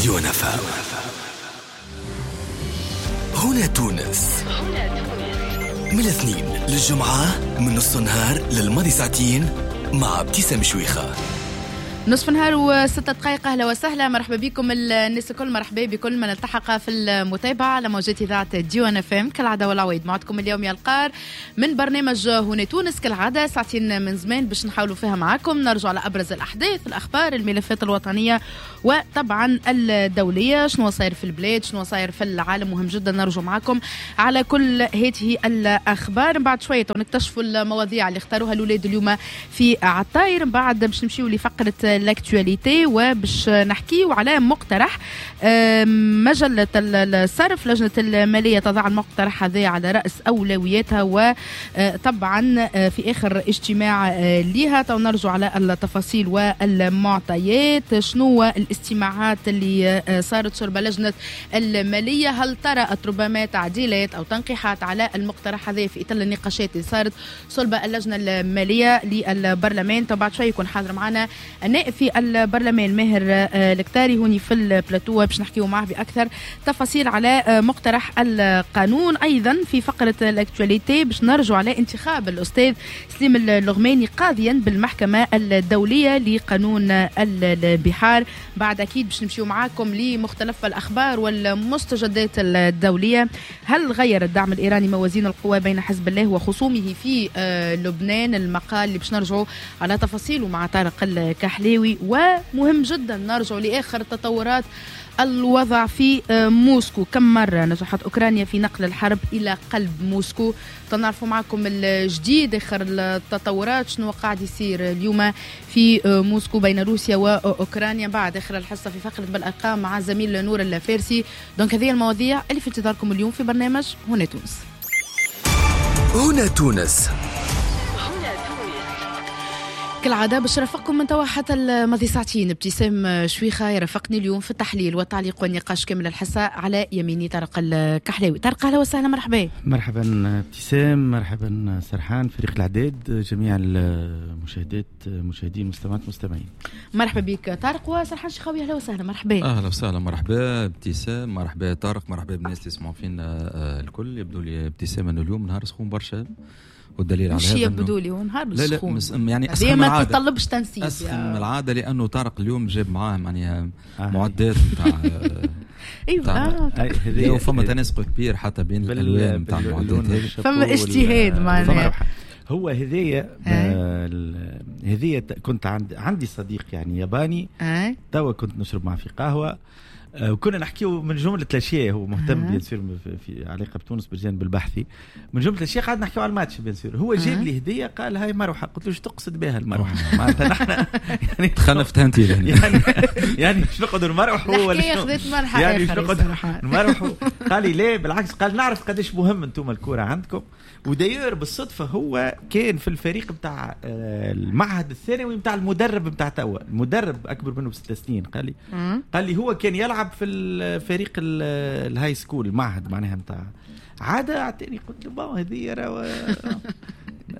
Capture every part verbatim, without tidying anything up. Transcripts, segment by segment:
ديوان أف أم. هنا تونس من الاثنين للجمعة من نص النهار للماضي ساعتين مع ابتسام شويخة. نصف نهار وستة دقائق. أهلا وسهلا، مرحبا بكم الناس الكل، مرحبا بكل من التحق في المتابعة على موجات إذاعة ديوان أف أم. كالعادة والعويد معكم اليوم يا القار من برنامج هنا تونس، كالعادة ساعتين من زمان باش نحاولوا فيها معكم نرجع على أبرز الأحداث، الأخبار، الملفات الوطنية وطبعا الدولية، شنو صاير في البلاد، شنو صاير في العالم. مهم جدا نرجع معكم على كل هذه الأخبار. بعد شوية نكتشفوا المواضيع اللي اختاروها الأولاد اليوم في عطاير. بعد باش نمشيو لفقرة l'actualité وباش نحكيو على مقترح مجلة الصرف. لجنة المالية تضع المقترح هذا على رأس أولوياتها، وطبعا في آخر اجتماع ليها نرجع على التفاصيل والمعطيات. شنو الاستماعات اللي صارت شرب لجنة المالية؟ هل طرأت ربما تعديلات أو تنقيحات على المقترح هذا في إطار النقاشات اللي صارت صلب اللجنة المالية للبرلمان؟ بعد شوي يكون حاضر معنا النائب في البرلمان ماهر الكتاري هوني في البلاتو باش نحكيو معه بأكثر تفاصيل على مقترح القانون. أيضا في فقرة ال actualité باش نرجع على انتخاب الأستاذ سليم اللغماني قاضيا بالمحكمة الدولية لقانون البحار. بعد أكيد باش نمشيو معاكم لمختلف الأخبار والمستجدات الدولية. هل غير الدعم الإيراني موازين القوى بين حزب الله وخصومه في لبنان؟ المقال اللي باش نرجعوا على تفاصيله مع طارق الكحلاوي. ومهم جدا نرجع لآخر تطورات الوضع في موسكو. كم مرة نجحت أوكرانيا في نقل الحرب إلى قلب موسكو؟ تنعرفوا معكم الجديد، آخر التطورات، شنو قاعد يصير اليوم في موسكو بين روسيا وأوكرانيا. بعد آخر الحصة في فقرة بالأرقام مع زميل نور الفارسي. donc هذه المواضيع اللي في انتظاركم اليوم في برنامج هنا تونس. هنا تونس كالعادة باش رافقكم من توا حتى الماضي ساعتين. ابتسام شويخة يرافقني اليوم في التحليل والتعليق والنقاش كامل الحصة. على يميني طارق الكحلاوي. طارق أهلا وسهلا، مرحبا. مرحبا ابتسام، مرحبا سرحان، فريق الإعداد، جميع المشاهدات مشاهدين مستمعات مستمعين. مرحبا بك طارق. وسرحان شيخاوي أهلا وسهلا، مرحبا. أهلا وسهلا، مرحبا ابتسام، مرحبا طارق، مرحبا بالناس اللي يسمعوا فينا الكل. يبدو لي ابتسام أنه اليوم نهار سخون برشا، والدليل على هذا يبدو لي ونهار لا لا مس يعني اسخن من ما تطلبش تنسيق، اسخن من العادة، لانه طارق اليوم جاب معاه يعني آه. معدات نتاع ايوه ايوه، وفما تناسق كبير حتى بين الالوان نتاع المعدات هذه، فما اجتهاد معناها. هو هذيا هذيا كنت عند عندي صديق يعني ياباني، توا كنت نشرب معه في قهوة وكنا نحكيو من جملة الأشياء، هو مهتم bien sûr في علاقة بتونس بالجانب البحثي، من جملة الأشياء قعدنا نحكيو على الماتش bien sûr. هو جاب لي هدية قال هاي مروحة، قلت له شو تقصد بها المروحة؟ معناتها نحن يعني تخنفتها أنت يعني يعني شو نقعدوا نمروحوا ولا شنو؟ يعني شو نقعدوا نمروحوا؟ قال لي لا بالعكس، قال نعرف قداش مهم أنتم الكورة عندكم. وداير بالصدفة هو كان في الفريق بتاع المعهد الثانوي بتاع المدرب بتاع توا، المدرب أكبر منه بست سنين. قال لي قال لي هو كان يلعب في الفريق ال high school، المعهد معناها نتاع عادة. اعطيني قلت له bon هذه راه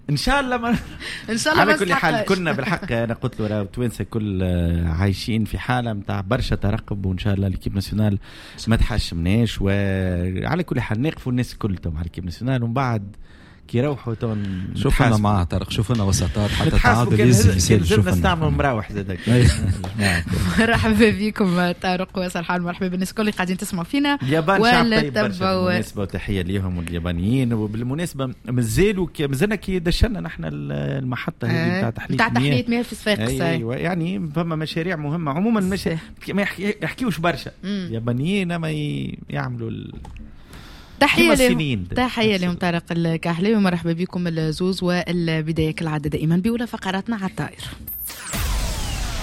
ان شاء الله ما ان شاء الله. على كل حال كنا بالحق انا قلت له راه توانسة كل عايشين في حاله نتاع برشا ترقب، وان شاء الله l'équipe nationale ما تحشمناش. وعلى كل حال نقفوا الناس الكل مع l'équipe nationale، ومن بعد كي يروحوا تون شوفنا معاه طارق، شوفنا وسطات حتى تعادل يزي شوفنا نستعملوا مراوح زادك. مرحبا بكم طارق وسرحان، مرحبا بالناس الكل اللي قاعدين تسمعوا فينا. اليابان شعب طيب برشا بالمناسبة، وتحية ليهم واليابانيين. وبالمناسبة مازالوا مازلنا كي دشنا نحن المحطة هذه نتاع تحلية نتاع تحلية مياه في صفاقس. ايوه يعني فما مشاريع مهمة عموما، مش ما يحكيوش برشا اليابانيين، ما يعملوا تحية لهم، تحية لهم طارق الكحلاوي، ومرحبا بكم الزوز. والبداية كالعادة دائما بأولى فقراتنا على الطائر.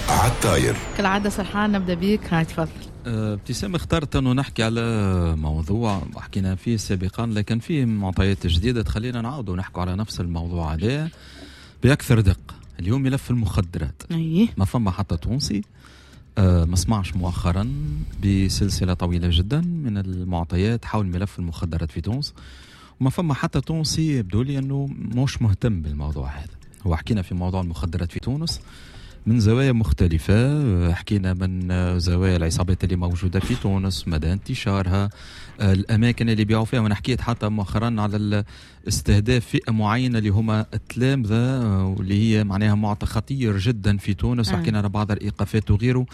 على الطائر كالعادة سرحان نبدأ بيك، هاي تفضل. ابتسام اخترت أنه نحكي على موضوع حكينا فيه سابقا، لكن فيه معطيات جديدة تخلينا نعود ونحكي على نفس الموضوع عليه بأكثر دقة. اليوم ملف المخدرات. أيه. ما فما حتى تونسي أه ما سمعش مؤخرا بسلسلة طويلة جدا من المعطيات حول ملف المخدرات في تونس، وما فما حتى تونسي يبدو لي أنه مش مهتم بالموضوع هذا. هو حكينا في موضوع المخدرات في تونس من زوايا مختلفة. حكينا من زوايا العصابات اللي موجودة في تونس، مدى انتشارها، الأماكن اللي بيعوا فيها، وأنا حكيت حتى مؤخرا على استهداف فئة معينة اللي هما التلامذة، واللي هي معناها معطى خطير جدا في تونس، وحكينا على بعض الإيقافات وغيره،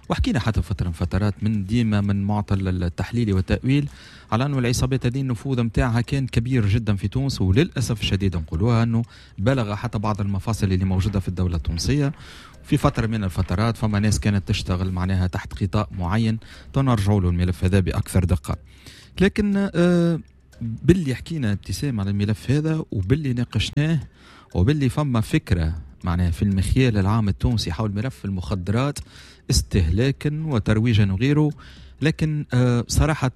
وحكينا حتى فترة من فترات من ديما من معطى التحليل والتأويل على أنه العصابات هذه النفوذ متاعها كان كبير جدا في تونس، وللأسف الشديد نقولوها أنه بلغ حتى بعض المفاصل اللي موجودة في الدولة التونسية. في فترة من الفترات فما ناس كانت تشتغل معناها تحت غطاء معين، تنرجعوا له الملف هذا بأكثر دقة. لكن باللي حكينا ابتسام على الملف هذا وباللي ناقشناه وباللي فما فكرة معناها في المخيال العام التونسي حول ملف المخدرات استهلاكا وترويجا وغيره، لكن صراحة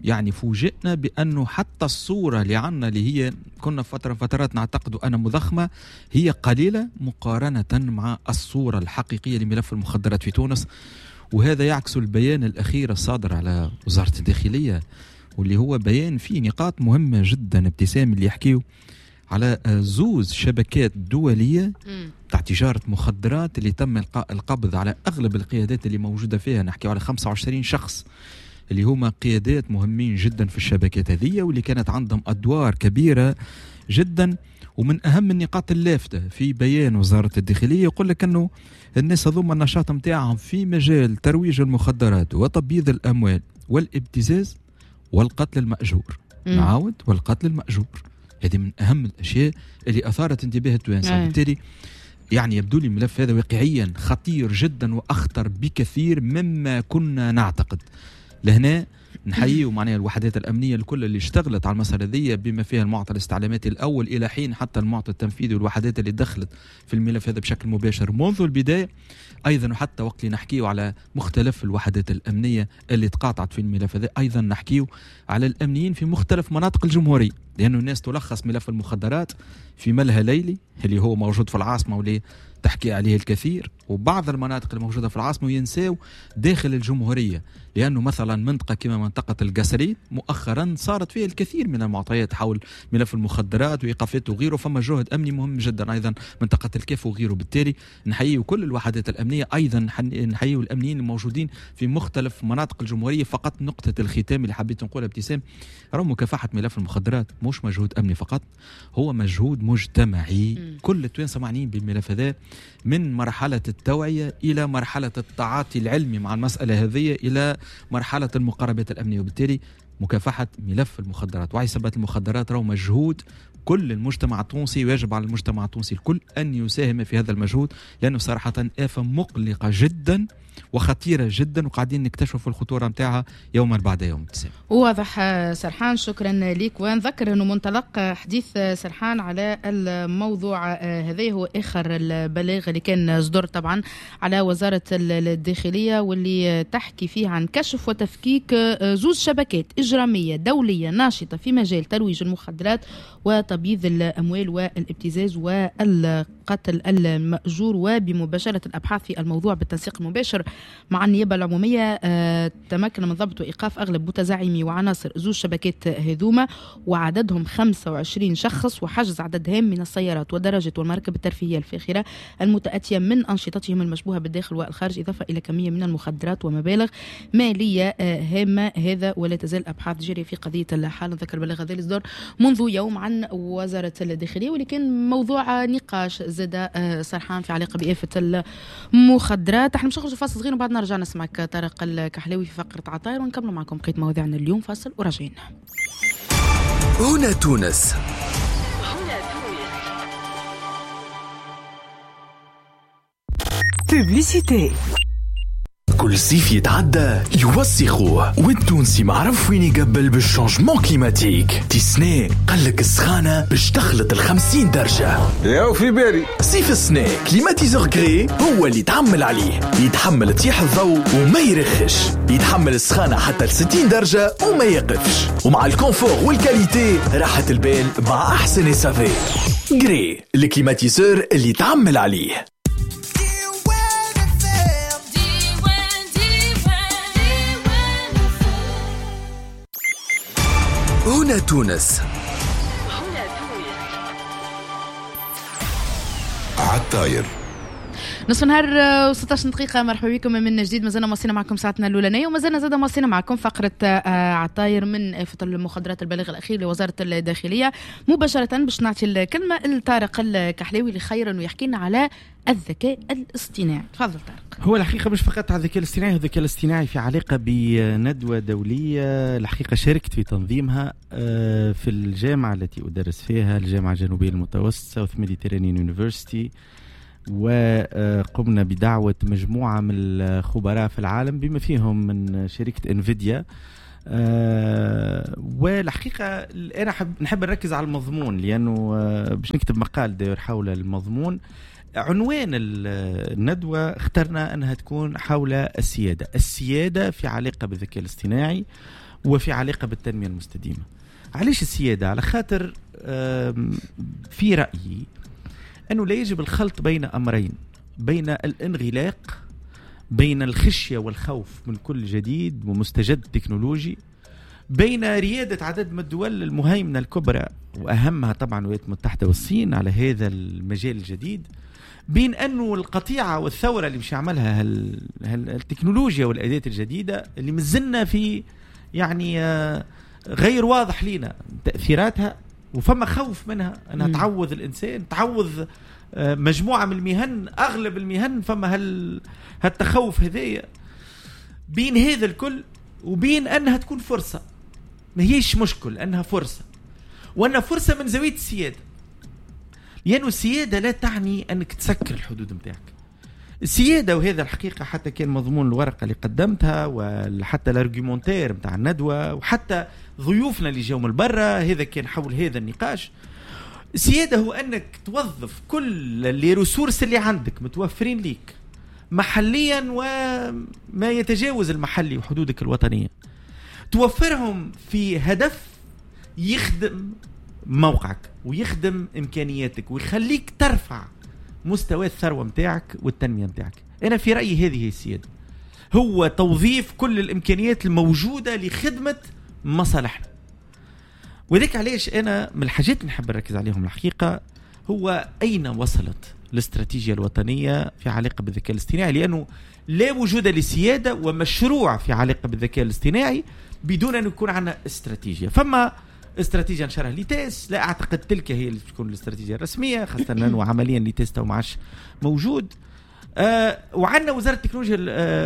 يعني فوجئنا بأنه حتى الصورة اللي عنا اللي هي كنا فترة فترات نعتقد أنها مضخمة هي قليلة مقارنة مع الصورة الحقيقية لملف المخدرات في تونس. وهذا يعكس البيان الأخير الصادر على وزارة الداخلية، واللي هو بيان فيه نقاط مهمة جدا ابتسام، اللي يحكيه على زوز شبكات دولية تاع تجارة مخدرات اللي تم القبض على أغلب القيادات اللي موجودة فيها. نحكي على خمسة وعشرين شخص اللي هما قيادات مهمين جدا في الشبكات هذه، واللي كانت عندهم أدوار كبيرة جدا. ومن أهم النقاط اللافتة في بيان وزارة الداخلية يقول لك أنه الناس هذوما النشاط متاعهم في مجال ترويج المخدرات وتبييض الأموال والابتزاز والقتل المأجور. نعاود، والقتل المأجور، هذه من أهم الأشياء اللي أثارت انتباه التوانسة. وبالتالي يعني يبدو لي الملف هذا واقعيا خطير جدا وأخطر بكثير مما كنا نعتقد. لهنا نحيي معناها الوحدات الأمنية الكل اللي اشتغلت على المسألة ذي، بما فيها المعطى الاستعلاماتي الأول إلى حين حتى المعطى التنفيذي والوحدات اللي دخلت في الملف هذا بشكل مباشر منذ البداية. أيضا وحتى وقت اللي نحكيه على مختلف الوحدات الأمنية اللي تقاطعت في الملف هذا، أيضا نحكيه على الأمنيين في مختلف مناطق الجمهورية، لأنه الناس تلخص ملف المخدرات في ملهى ليلي اللي هو موجود في العاصمة واللي تحكي عليه الكثير، وبعض المناطق الموجودة في العاصمة وينساو داخل الجمهورية، لأنه مثلا منطقة كما منطقة القصرين مؤخرا صارت فيها الكثير من المعطيات حول ملف المخدرات وإيقافات وغيره، فما جهد أمني مهم جدا. أيضا منطقة الكاف وغيره. بالتالي نحيي كل الوحدات الأمنية، أيضا نحيي الأمنيين الموجودين في مختلف مناطق الجمهورية. فقط نقطة الختام اللي حبيت نقولها ابتسام، رغم مكافحة ملف المخدرات مش مجهود أمني فقط، هو مجهود مجتمعي. م. كل التوانسة معنيين بالملف هذا، من مرحلة التوعية إلى مرحلة التعاطي العلمي مع المسألة هذه إلى مرحلة المقاربات الأمنية. وبالتالي مكافحة ملف المخدرات وعصابات المخدرات راهو مجهود كل المجتمع التونسي، ويجب على المجتمع التونسي الكل أن يساهم في هذا المجهود، لأنه صراحة آفة مقلقة جدا وخطيرة جدا، وقاعدين نكتشف الخطورة متاعها يوما بعد يوم. واضح سرحان، شكرا لك. ونذكر أنه منطلق حديث سرحان على الموضوع هذا هو آخر البلاغ اللي كان صدر طبعا على وزارة الداخلية، واللي تحكي فيه عن كشف وتفكيك زوج شبكات إجرامية دولية ناشطة في مجال ترويج المخدرات وتبييض الأموال والابتزاز والقتل المأجور، وبمباشرة الأبحاث في الموضوع بالتنسيق المباشر مع النيابة العمومية تمكن من ضبط وإيقاف أغلب متزعمي وعناصر زوج شبكات هذوما وعددهم خمسة وعشرين شخص، وحجز عدد هام من السيارات والدراجات والمراكب الترفيهية الفاخرة المتأتية من أنشطتهم المشبوهة بالداخل والخارج، إضافة إلى كمية من المخدرات ومبالغ مالية هامة. هذا ولا تزال أبحاث جارية في قضية الحالة. ذكر بلاغ هذا الإصدار منذ يوم عن وزارة الداخلية، واللي كان موضوع نقاش زاد سرحان في علاقة بآفة المخدرات. احنا مش نخرج فاصل صغير وبعد نرجع نسمعك طارق الكحلاوي في فقرة عطاير، ونكمل معكم بقية مواضيعنا اليوم. فاصل وراجعين. هنا تونس. هنا تونس. Publicité. كل صيف يتعدى يوسخوه، والتونسي معرف وين يقبل بال changement climatique. تي قالك السخانة باش تخلط الخمسين درجة. ياو في بالي صيف السنة climatiseur Gree هو اللي تعمل عليه، يتحمل تيح الضوء وما يرخش، يتحمل السخانة حتى لستين درجة وما يقفش، ومع ال confort وال qualité راحة البال مع أحسن SAV. Gree ال climatiseur اللي تعمل عليه. هنا تونس. هنا تونس. عالطاير. نصف نهار وستاش دقيقة، مرحبا بكم من جديد. مازلنا مواصلين معكم ساعتنا الأولانية، ومازلنا زاد مواصلين معكم فقرة عطاير من آفة المخدرات، البلاغ الأخير لوزارة الداخلية. مباشرة باش نعطي الكلمة لطارق الكحلاوي اللي خير انه يحكي لنا على الذكاء الاصطناعي. تفضل طارق. هو الحقيقة مش فقط على الذكاء الاصطناعي، الذكاء الاصطناعي في علاقة بندوة دولية الحقيقة شاركت في تنظيمها في الجامعة التي أدرس فيها، الجامعة الجنوبية المتوسطة South Mediterranean University، وقمنا بدعوة مجموعة من الخبراء في العالم بما فيهم من شركة انفيديا. والحقيقة أنا نحب نركز على المضمون لأنه باش نكتب مقال داير حول المضمون. عنوان الندوة اخترنا أنها تكون حول السيادة، السيادة في علاقة بالذكاء الاصطناعي وفي علاقة بالتنمية المستديمة. علاش السيادة؟ على خاطر في رأيي أنه لا يجب الخلط بين أمرين، بين الانغلاق، بين الخشية والخوف من كل جديد ومستجد تكنولوجي، بين ريادة عدد من الدول المهيمنة الكبرى وأهمها طبعا الولايات المتحدة والصين على هذا المجال الجديد، بين أنه القطيعة والثورة اللي مش يعملها هال... هال... التكنولوجيا والأداة الجديدة اللي مازلنا في يعني غير واضح لنا تأثيراتها، وفما خوف منها أنها تعوض الإنسان، تعوض مجموعة من المهن، أغلب المهن، فما هال... هالتخوف هذايا. بين هذا الكل وبين أنها تكون فرصة، ما هيش مشكل، أنها فرصة، وأنها فرصة من زاوية السيادة. لأنه السيادة لا تعني أنك تسكر الحدود متاعك. السيادة، وهذا الحقيقة حتى كان مضمون الورقة اللي قدمتها وحتى ال argumentaire متاع الندوة وحتى ضيوفنا اللي جاوا من برا، هذا كان حول هذا النقاش. السيادة هو أنك توظف كل les ressources اللي عندك متوفرين ليك محليا وما يتجاوز المحلي وحدودك الوطنية، توفرهم في هدف يخدم موقعك ويخدم إمكانياتك ويخليك ترفع مستوى الثروة متاعك والتنمية متاعك. أنا في رأيي هذه هي السيادة، هو توظيف كل الإمكانيات الموجودة لخدمة مصالحنا. وذلك علاش أنا من الحاجات اللي نحب نركز عليهم الحقيقة هو أين وصلت الاستراتيجية الوطنية في علاقة بالذكاء الاصطناعي، لأنه لا وجود لسيادة ومشروع في علاقة بالذكاء الاصطناعي بدون أن يكون عندنا استراتيجية. فما استراتيجية نشرها ليتاس، لا أعتقد تلك هي اللي تكون الاستراتيجية الرسمية، خاصة أنه عمليا ليتاس تو ما عادش موجود. آه وعندنا وزارة التكنولوجيا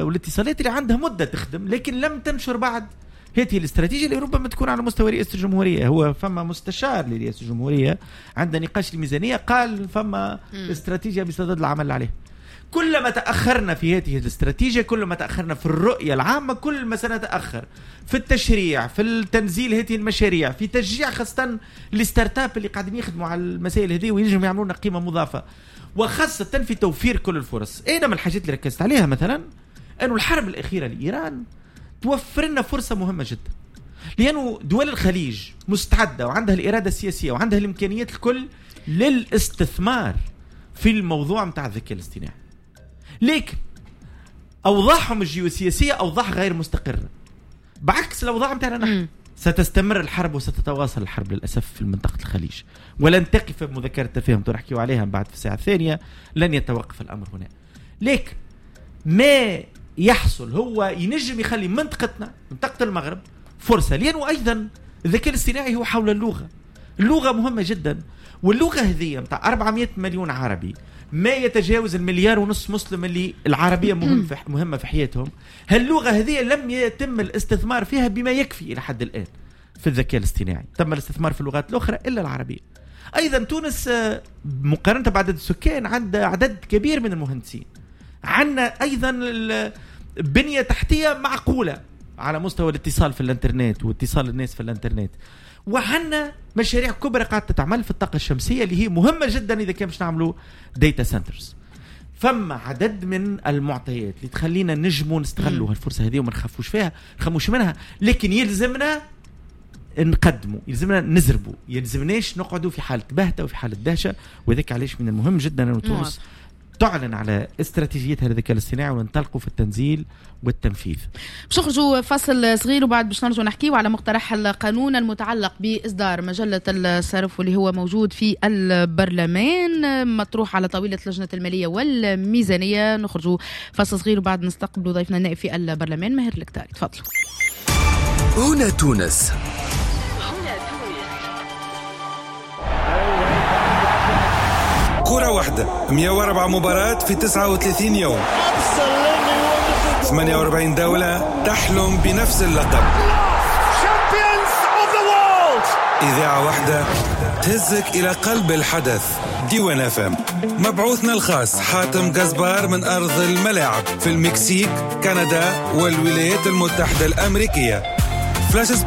والاتصالات اللي عندها مدة تخدم لكن لم تنشر بعد هذه الاستراتيجية اللي ربما تكون على مستوى رئاسة الجمهورية. هو فما مستشار لرئاسة الجمهورية عند نقاش الميزانية قال فما استراتيجية بصدد العمل عليه. كلما تأخرنا في هذه الاستراتيجية، كلما تأخرنا في الرؤية العامة، كل ما سنتأخر في التشريع، في التنزيل هذه المشاريع، في تشجيع خاصة ال startups اللي قاعدين يخدموا على المسائل هذه وينجموا يعملوا لنا قيمة مضافة، وخاصة في توفير كل الفرص. أنا من الحاجات اللي ركزت عليها مثلا أنه الحرب الأخيرة لإيران توفر لنا فرصة مهمة جدا، لأنه دول الخليج مستعدة وعندها الإرادة السياسية وعندها الإمكانيات الكل للاستثمار في الموضوع متاع الذكاء الاصطناعي، لكن أوضاعهم الجيوسياسية أوضاع غير مستقرة، بعكس الأوضاع متاعنا نحن. ستستمر الحرب وستتواصل الحرب للأسف في منطقة الخليج، ولن تقف بمذكرة التفاهم تحكيوا عليها بعد في الساعة الثانية، لن يتوقف الأمر هنا. لكن ما يحصل هو ينجم يخلي منطقتنا، منطقة المغرب، فرصة، لأنه أيضا الذكاء الاصطناعي هو حول اللغة. اللغة مهمة جدا، واللغة هذه متاع أربعمائة مليون عربي، ما يتجاوز المليار ونص مسلم اللي العربية مهم في مهمة في حياتهم. هاللغة هذه لم يتم الاستثمار فيها بما يكفي إلى حد الآن في الذكاء الاصطناعي. تم الاستثمار في اللغات الأخرى إلا العربية. أيضا تونس مقارنة بعدد السكان عندها عدد كبير من المهندسين، عندنا أيضا بنية تحتية معقولة على مستوى الاتصال في الانترنت واتصال الناس في الانترنت، وعندنا مشاريع كبرى قاعدة تتعمل في الطاقة الشمسية اللي هي مهمة جدا إذا كان باش نعملوا data centers. فما عدد من المعطيات اللي تخلينا نجموا نستغلوا هالفرصة هذه وما نخافوش فيها، نخموش منها، لكن يلزمنا نقدموا، يلزمنا نزربوا، يلزمناش نقعدوا في حالة بهتة وفي حالة دهشة. وذلك علاش من المهم جدا أن تونس تعلن على استراتيجيتها للذكاء الاصطناعي وننطلقوا في التنزيل والتنفيذ. باش نخرجوا فاصل صغير وبعد باش نرجعوا نحكيو على مقترح القانون المتعلق باصدار مجلة الصرف واللي هو موجود في البرلمان، مطروح على طاولة لجنة المالية والميزانيه. نخرجوا فاصل صغير وبعد نستقبلوا ضيفنا النائب في البرلمان ماهر الكتاري. تفضلوا. هنا تونس. هنا تونس. كرة واحدة، مئة وأربعة مباراة في تسعة وثلاثين يوم، ثمانية وأربعين دولة تحلم بنفس اللقب. إذاعة واحدة تهزك إلى قلب الحدث. ديوان اف ام، مبعوثنا الخاص حاتم قزبار من أرض الملاعب في المكسيك، كندا والولايات المتحدة الأمريكية. فلاش